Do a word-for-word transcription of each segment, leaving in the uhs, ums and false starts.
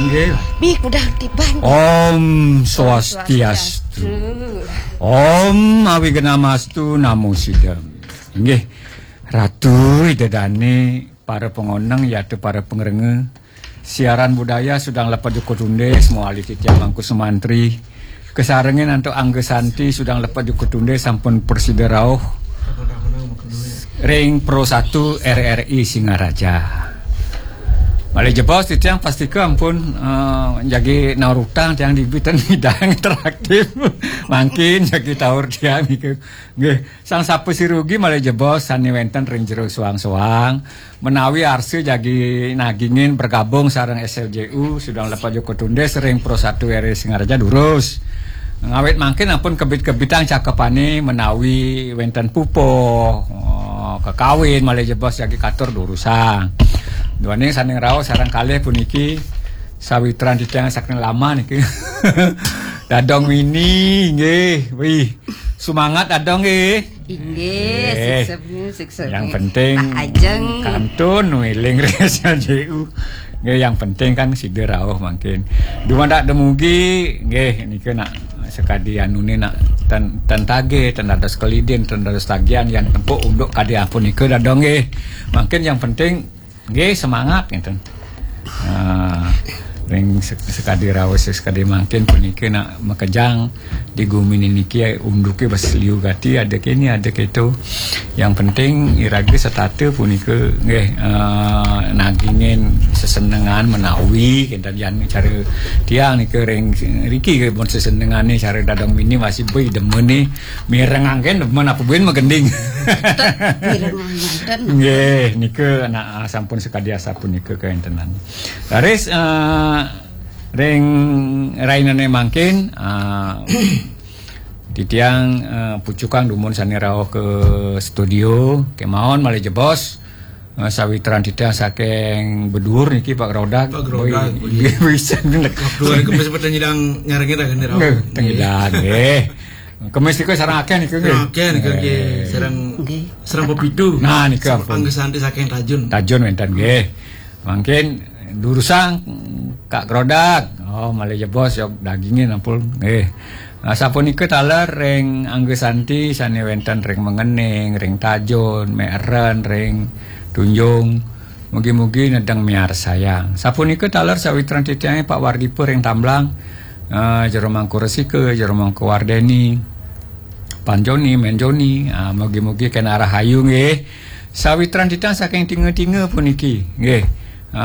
Nggih. Bi kudang tiban. Om Swastiastu. Om Awignamastu Namo Sidam. Nggih. Ratu Ida Dane, para pengoneng yata para pengrenge. Siaran budaya sudang lepat jukut tunde, semua ahli titiang mangku sumantri. Kesarengin antuk Angga Santi sudang lepat jukut tunde sampun prasida rauh ring Pro satu R R I Singaraja. Malih jebos titiang pastika ampun eh, jagi naur utang tiang dibitan midang interaktif. Mangkin jagi taur tiang niku. Nggih, sang sapa sirugi malih jebos sane wenten ring jero soang-soang menawi arsa jagi nagingin bergabung sareng S L J U sudang lepat jukut tunde ring Pro satu R R I Singaraja durus. Ngawit mangkin ampun kebit-kebitang cakepane menawi wenten pupuh, oh, kekawin malih jebos jagi katur durusang. Duaning sane ngraos sareng kalih puniki sawitran titiang saking lama niki. Dadong Wini nggih. Wih, semangat Dadong nggih. Inggih, Eh, sukses, sukses. Yang penting Pak Ajeng. Kantun wiling ring S L J U. Nggih, yang penting kan sida rauh mangkin. Dumadak dumugi nggih nika nak sekadi anune nak ten, ten tagih, ten dados kelidin, ten dados tagihan yang tempuk unduk kadi ampun nika Dadong nggih. Mangkin yang penting nggih semangat ngenten. Ah, ring sek- sekadi raos sekadi mangkin punika nak makejang di gumi niki unduke bes liu gati ada kene ada keto. Yang penting iraga setata punika nggih ah, nagingin sesenengan menawi kenten jan cara tiang nika ring riki ke bon sesenengane cara Dadong Wini masih boi demen ni mirengangken demen apa buin magending. Mireng ngenten. Nggih, nika nak ah, sampun sekadi asapunika kawentenan. Laris eh, ring rainane mangkin eh, titiang eh, pucukang dumun sane rauh ke studio kemawon malih jebos eh, sawitran titiang saking Bedur niki Pak Grodak. Pak Grodak, Boi, nggih, bisa ngelek. Dua hari kemis pada nyidang nyarengin dah gini rauh. Nggih, tengidang nggih. Kemis niku sareng akeh niku nggih. Oke, nih oke. Serang Nggih. serang pepitu. Nah, nika Serang ampun. Angga Santi saking Tajun. Tajun wenten nggih. Mangkin durusang Kak Grodak. Oh, malih jebos yok dagingin ampun nggih. Nah, sapunika taler ring Angga Santi sane wenten ring Mengening, ring Tajun, Meren, ring Tunjung. Mugi-mugi nedeng miarsayang. Sapunika taler sawitran titiange Pak Wardipa ring Tamblang. Uh, Jero Mangku Resika, Jero Mangku Wardeni, Panjoni, Menjoni. Uh, mugi-mugi kena rahayu nggih. Sawitran titiang saking tinga-tinga puniki nggih. Uh,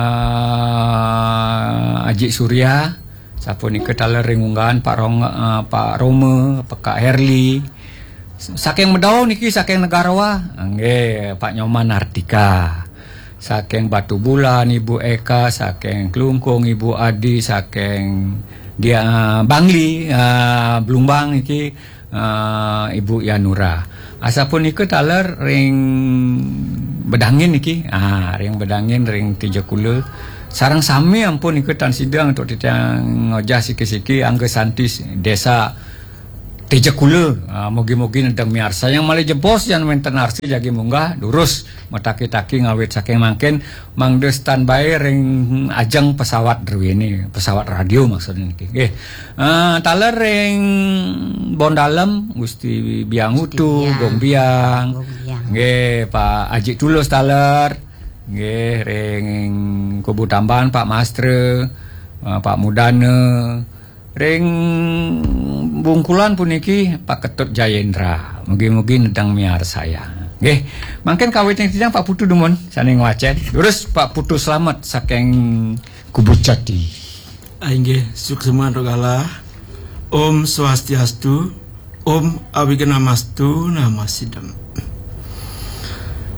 Aji Surya, sapunika taler ring unggahan Pak Rong, uh, Pak Roma, Pak Herli. Saking Medau niki saking Negarawa. Nggih, Pak Nyoman Artika. Saking Batu Bulan Ibu Eka, saking Klungkung Ibu Adi, saking dia Bangli uh, Blumbang niki uh, Ibu Yanura. Asapunika taler ring Bedangin niki. Ah, ring Bedangin ring Tijakula. Sareng sami ampun nika tan sidang untuk titiang ngojah siki-siki Angga Santi Desa Tejakula. Ah, mugi-mugi nedeng miarsa yang malih jebos yang wenten arsi jagi munggah durus mataki-taki ngawit saking mangkin mangda standby ring ajeng pesawat druene, pesawat radio maksudnya niki. Nggih. Ah, taler ring Bondalem Gusti Biang Utu, Biang. Gong Biang. Gong Biang. Nggih, Pak Aji Tulus taler. Nggih, ring Kubu Tamban Pak Mastre, ah, Pak Mudana, ring Bungkulan puniki Pak Ketut Jayendra. Mugi-mugi nedeng miarsayang. Nggih, mangkin kawitin titiang Pak Putu dumun sane ngwacen. Terus Pak Putu Slamet saking Kubu Jati. Ah, inggih, suksema antuk galah. Om Swastiastu, Om Awignamastu Namasidam.